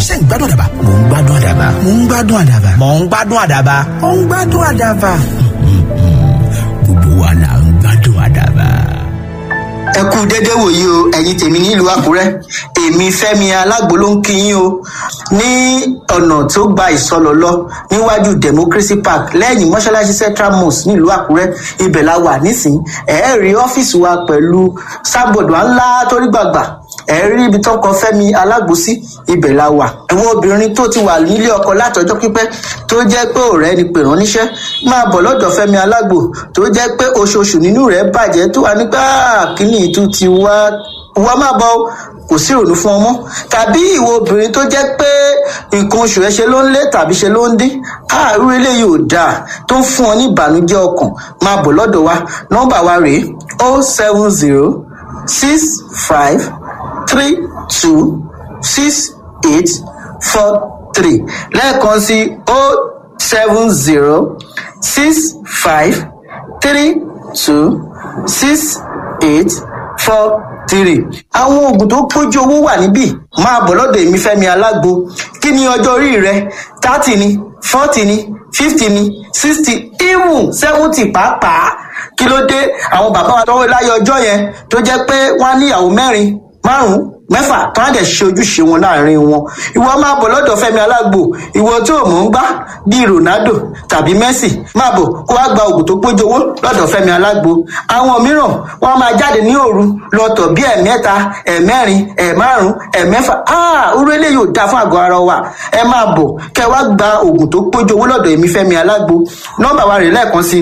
Ṣé ń gbádùn àdàbà? Mò ń gbádùn àdàbà. Mò ń gbádùn àdàbà. Mò ń gbádùn àdàbà. Mò ń gbádùn àdàbà. Gbogbo wa là ń gbádùn àdàbà. Ẹ kú dédé wòyí o, ẹ̀yin tèmi nílùú Àkúrẹ́. Èmi Fẹ́mi Alágbo ló ń kí yín o. Ní ọ̀nà tó gba Ìsọlọ̀ lọ, níwájú Democracy Park, lẹ́yìn mọ́ṣáláṣí Central Mosque nílùú Àkúrẹ́, ibẹ̀ la wà nísìnyí. Ẹ rí ọ́fíìsì wa pẹ̀lú sábọ̀dù ńlá torí gbàgbà. Ẹ rí ibi tó kọ Fẹ́mi Alágbo sí, ibẹ̀ la wà. Àwọn obìnrin tó ti wà nílé ọkọ látọjọ́ pípẹ́, tó jẹ́ pé ọ̀rẹ́ ni pè rán níṣẹ́, máa bọ̀ lọ́dọ̀ Fẹ́mi Alágbo. Tó jẹ́ pé oṣooṣù nínú rẹ̀ bàjẹ́, tó wà nígbà kíní ìtú ti wá wá, máa bọ̀ o, kò sí ìrònú fún ọmọ. Tàbí ìwọ obìnrin tó jẹ́ pé nǹkan oṣù ẹ ṣe ló ń lé tàbí ṣe ló ń dín, àárú eléyìí ò dáa, tó ń fún ọ ní ìbànújẹ́ ọkàn, máa bọ̀ lọ́dọ̀ wa. Nọ́mbà wa rèé: 07065326843. Lẹ́ẹ̀kan sí: 07065326843. Àwọn oògùn tó pójú owó wà níbí. Máa bọ̀ lọ́dọ̀ èmi Fẹ́mi Alágbo. Kí ni ọjọ́ orí rẹ? 30 ni, 40 ni, 50 ni, 60, even 70 pàápàá. Kí ló dé? Àwọn bàbá wa tọwọ́ láyé ọjọ́ yẹn, tó jẹ́ pé wọ́n á níyàwó mẹ́rin, márùn-ún, mẹ́fà, tó á dẹ̀ ṣe ojúṣe wọn láàrin wọn. Ìwọ máa bọ̀ lọ́dọ̀ Fẹ́mi Alágbo. Ìwọ tó mọ̀ ń gbá bíi Ronaldo tàbí Messi, máa bọ̀ kó wá gba oògùn tó pójú owó lọ́dọ̀ Fẹ́mi Alágbo. Àwọn mìíràn, wọ́n máa jáde ní òru lọ́tọ̀ bí ẹ̀mẹ́ta, ẹ̀mẹ́rin, ẹ̀márùn, ẹ̀mẹ́fà. Orú eléyìí ò dáa fún àgọ́ ara wa. Ẹ máa bọ̀ kẹ́ wá gba oògùn tó pójú owó lọ́dọ̀ èmi Fẹ́mi Alágbo. Nọ́mbà wa rèé lẹ́ẹ̀kan sí: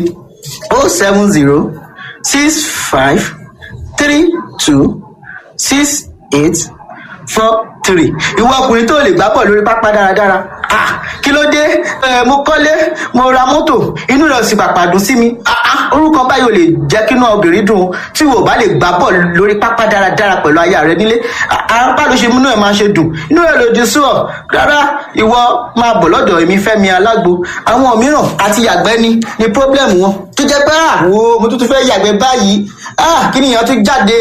07065326843. Ìwọ ọkùnrin tó lè gbá bọ̀ lórí pápá dáradára, kí ló dé? Mo kọ́lé, mo ra mọ́tò, inú rẹ̀ sì pàpà dùn sí mi. Orúkọ báyìí ò lè jẹ́ kí inú obìnrin dùn. Tí wò bá lè gbá bọ̀ lórí pápá dáradára pẹ̀lú aya rẹ nílé, bá ló ṣe múnú ẹ̀ máa ṣe dùn, inú rẹ̀ lòdì sí ọ. Rárá, ìwọ máa bọ̀ lọ́dọ̀ èmi Fẹ́mi Alágbo. Àwọn mìíràn, àti yàgbẹ́ ni problem wọn, tó jẹ́ pé wo, mo tún tún fẹ́ yàgbẹ́ báyìí, kí nìyẹn tún jáde?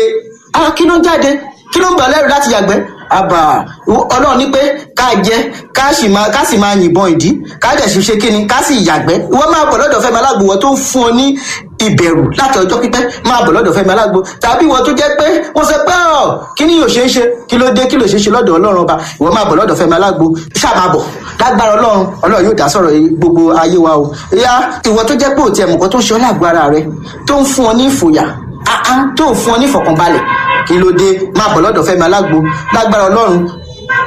Kí ló ń jáde? Kí ló ń bà lẹ́rù láti yàgbẹ́? Àbà Ọlọ́run ní pé ká jẹ, ká sì máa yìnbọn ìdí, ká dẹ̀ sì ṣe kíni, ká sì yàgbẹ́. Ìwọ máa bọ̀ lọ́dọ̀ Fẹ́mi Alágbo. Wọ́n tó ń fún ọ ní ìbẹ̀rù láti ọjọ́ pípẹ́, máa bọ̀ lọ́dọ̀ Fẹ́mi Alágbo. Tàbí ìwọ tó jẹ́ pé wọ́n sọ pé ọ̀ kí ni yóò ṣe é ṣe, kí ló dé? Kí ló ṣe é ṣe lọ́dọ̀ Ọlọ́run ọba? Ìwọ máa bọ̀ lọ́dọ̀ Fẹ́mi Alágbo, ṣáà máa bọ̀. Lágbára Ọlọ́run, Ọlọ́run yóò dá sọ̀rọ̀ gbogbo ayé wa o. Ìyá, ìwọ tó jẹ́ pé òtí ẹ̀mùkọ́ tó ń ṣe ọ́ lágbo ara rẹ, tó ń fún ọ ní ìfòyà, tó ń fún ọ ní ìfọ̀kànbalẹ̀, kí ló dé? Máa bọ̀ lọ́dọ̀ Fẹ́mi Alágbo. Lágbára Ọlọ́run,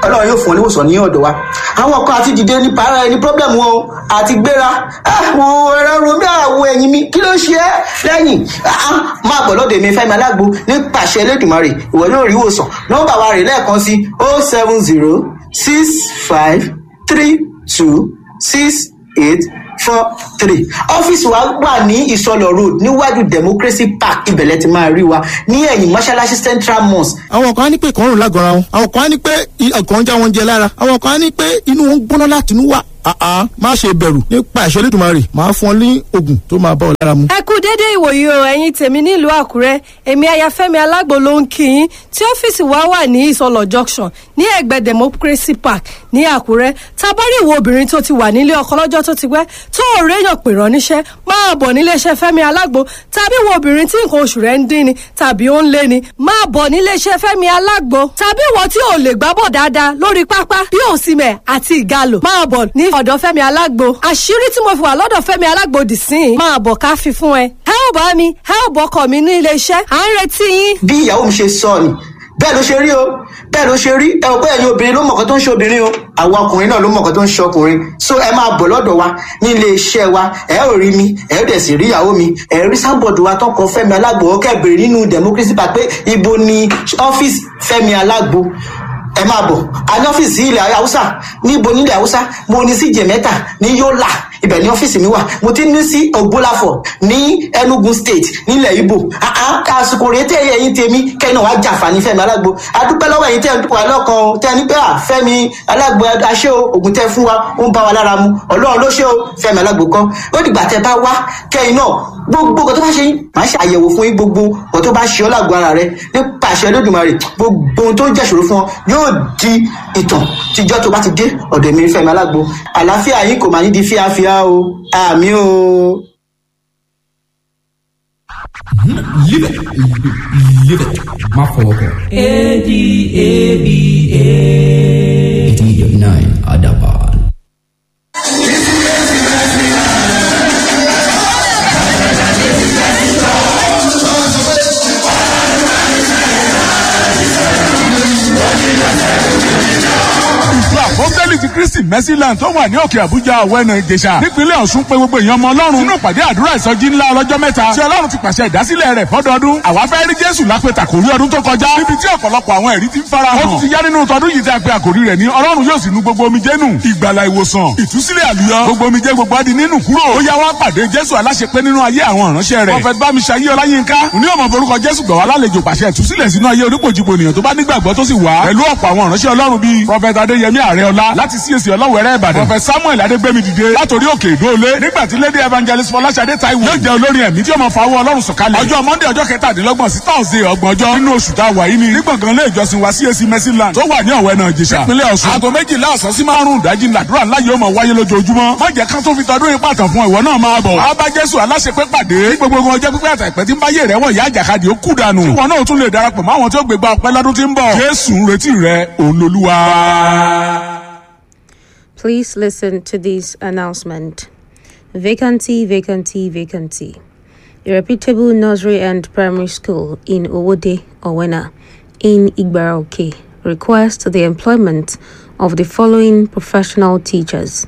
Ọlọ́run yóò fún ọ níwòsàn ní ọ̀dọ̀ wa. Àwọn kan, àti dìde ní para ẹni problem wọn o, àti gbéra àwọn ẹ̀rọ romi, àwọ̀ ẹ̀yìn mi, kí ló ṣe é lẹ́yìn? Máa bọ̀ lọ́dọ̀ èmi Fẹ́mi Alágbo. Nípasẹ̀ Elédùmarè, ìwọ yóò rí ìwòsàn. Nọ́mbà wa rè lẹ́ẹ̀kan sí: 07065326843. Ọ́fíìsì wa wà ní Ìsọlọ̀ Road, níwájú Democracy Park. Ibẹ̀lẹ̀ ti máa rí wa ní ẹ̀yìn mọ́ṣáláṣí Central Mosque. Àwọn kan á ní pé ìkọrùn lágọ̀ọ́ra wọn, àwọn kan á ní pé ọkàn ń já wọn jẹ lára, àwọn kan á ní pé inú wọn ń gbóná láti inú wá. Má ṣe bẹ̀rù, nípa ìṣẹ́ Olódùmarè, máa fún ọ ní oògùn tó máa bá ọ lára mu. Ẹ kú déédéé ìwòyí o, ẹ̀yin tèmi nílùú Àkúrẹ́. Èmi Ayafẹ́mi Alágbo ló ń kí yín, tí ọ́fíìsì wa wà ní Ìsọlọ̀ Junction, ní ẹ̀gbẹ́ Democracy Park ní Àkúrẹ́. Tabari ìwọ obìnrin tó ti wà nílé ọkọ lọ́jọ́ tó ti pẹ́, tó ò réyàn pè rán níṣẹ́, máa bọ̀ níléeṣẹ́ Fẹ́mi Alágbo. Tàbí ìwọ obìnrin tí nǹkan oṣù rẹ̀ ń dín ni tàbí ó ń lé ni, máa bọ̀ níléeṣẹ́ Fẹ́mi Alágbo. Tàbí ìwọ tí ò lè gbábọ̀ dáadáa lórí pápá bí Òsìmẹ̀ àti Ìgalò, máa bọ̀ ní ọ̀dọ̀ Fẹ́mi Alágbo. Àṣírí tí mo fi wà lọ́dọ̀ Fẹ́mi Alágbo dì sí i, máa bọ̀ ká fi fún ẹ. Ẹ ò bá mi, ẹ ò bọ́kọ̀ mi ní iléeṣẹ́, à ń retí yín. Bí ìyàwó mi ṣe sọ ni, bẹ́ẹ̀ ló ṣe rí o, bẹ́ẹ̀ ló ṣe rí. Ẹ ò pé ẹ̀yin obìnrin ló mọ̀kàn tó ń ṣe obìnrin o, àwọn ọkùnrin náà ló mọ̀kàn tó ń ṣe ọkùnrin. So ẹ máa bọ̀ lọ́dọ̀ wa ní ilé iṣẹ́ wa. Ẹ ò rí mi, ẹ ò dẹ̀ sì rí ìyàwó mi. Ẹ rí sábọ̀dù wa tọkọ Fẹ́mi Alágbo. Ọkẹ́ bèrè nínú Democracy Park pé ibo ni ọ́fíìsì Fẹ́mi Alágbo. Ẹ máa bọ̀. A ní ọ́fíìsì ilẹ̀ Haúsá. Níbo nílẹ̀ Haúsá? Mo ní sí Jẹ̀mẹ́ta ní Yólà. Ibẹ̀ ní ọ́fíìsì mi wà. Mo ti ní sí Ògbólàfọ̀ ní Enugu State nílẹ̀ Ibo. Àsìkò rèé tẹ́ ẹ̀yin tèmi kẹ́yìn náà wá jàǹfààní Fẹ́mi Alágbo. Adúpẹ́ lọ́wọ́ ẹ̀yin tẹ́ ẹ̀ wà lọ́kàn o, tẹ́ ẹ ní pé à Fẹ́mi Alágbo aṣẹ́ o, ògùn tẹ́ fún wa ó ń bá wa lára mu. Ọlọ́run ló ṣe o, Fẹ́mi Alágbo kọ́. Ó dìgbà tẹ́ bá wá kẹ́yìn náà gbogbo nǹkan tó bá ṣe yín, màá ṣe àyẹ̀wò fún yín, gbogbo nǹkan tó bá ṣe ọ́ lágbo ara rẹ nípa àṣẹ Olódùmarè, gbogbo ohun tó ń jẹ́ṣòro fún ọ yóò di ìtàn tíjọ́ tó bá ti dé ọ̀dọ̀ mi Fẹ́mi Alágbo. Àlàáfíà yín kò máa ní di fíafíà o. Àmì o. Live it. Live it. Má fọwọ́ kàn. ADABA. 89 Adaban. Ìjọ Àpọ́sítélì ti Kristi Mercyland tó wà ní òkè Àbújá, Ọ̀wẹ́nà Ìjẹ̀ṣà, nípínlẹ̀ Ọ̀ṣun pé gbogbo èèyàn ọmọ Ọlọ́run nínú ìpàdé àdúrà ìsọjí ńlá ọlọ́jọ́ mẹ́ta tí Ọlọ́run ti pàṣẹ ìdásílẹ̀ rẹ̀ fọ́dọọdún. Àwa fẹ́ rí Jésù lápẹ̀tà kò rí ọdún tó kọjá níbi tí ọ̀pọ̀lọpọ̀ àwọn ẹ̀rí ti ń fara hàn. Ó ti yá nínú tọdún yìí tí a pe àkòrí rẹ̀ ní Ọlọ́run yóò sì nu gbogbo omijé nù. Ìgbàlà, ìwòsàn, ìtúsílẹ̀, àlùyọ, gbogbo omijé gbogbo á di nínú kúrò. Ó yá, wá pàdé Jésù aláṣepé nínú ayé àwọn ìránṣẹ́ rẹ̀. Prophet Bámiṣayé Ọláyínká ní ọmọ forúkọ Jésù gbà wá lálejò, pàṣẹ ìtúsílẹ̀ sínú ayé onípòjìpò ènìyàn tó bá nígbàgbọ́ tó sì wá. Pẹ̀lú ọ̀pọ̀ àwọn ìránṣẹ́ Ọlọ́run bíi Prophet Adéyẹmí Àrẹọlá láti CAC Ọlọ́wẹ̀rẹ́ Ìbàdàn, Prophet Samuel Adégbémi dìde látòrí òkè ìdóolé, nígbà tí Lady Evangelist Fọláṣadé Táíwò yóò jẹ́ olórin ẹ̀mí tí ó máa fa owó Ọlọ́run sọ̀kalẹ̀. Ọjọ́ Monday, ọjọ́ 27 sí Thursday, 30 ọjọ́ nínú oṣù tá a wà yìí ni ní gbọ̀ngàn ilé ìjọsìn wa CAC Mercyland tó wà ní Ọ̀wẹ́nà Ìjẹ̀ṣà, nípínlẹ̀ Ọ̀ṣun. Aago 12 ọ̀sán sí 5 ìdájí làdúrà ńlá yóò máa wáyé lójoojúmọ́. Má jẹ́ ká tó fi tọdún yìí pàtàn fún ìwọ náà, máa bọ̀. Á bá Jésù aláṣepé pàdé. Ní gbogbo ọjọ́ pípẹ́ àtàìpẹ́ tí ń báyé rẹ̀ wọ̀ yá àjàkadì ó kú dànù. Tí wọn náà tún lè darapọ̀ mọ́ àwọn tí ó gbégbá ọpẹ́ lọ́dún tí ń bọ̀. Jésù ń retí rẹ, òun lolúwa. Please listen to this announcement. Vacancy, vacancy, vacancy. A reputable nursery and primary school in Owode, Owena, in Igbaraoke, requests the employment of the following professional teachers: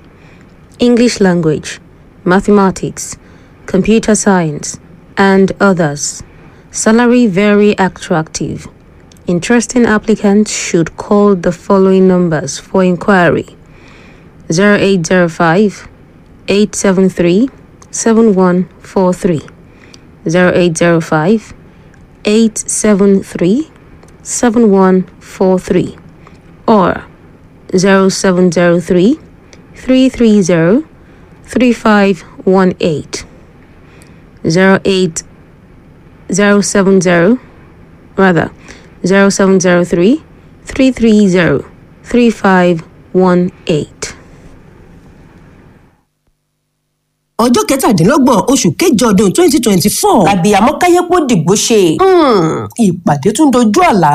English language, mathematics, computer science, and others. Salary very attractive. Interesting applicants should call the following numbers for inquiry: 0805 873 7143, 0805 873 7143, or 0703 330 3518, 08 070, rather 0703 330 3518. Ọjọ́ 27 oṣù kẹjọ ọdún 2024 àbíyamọ káyépo dìgbò ṣe ìpàdé tún dojú àlá.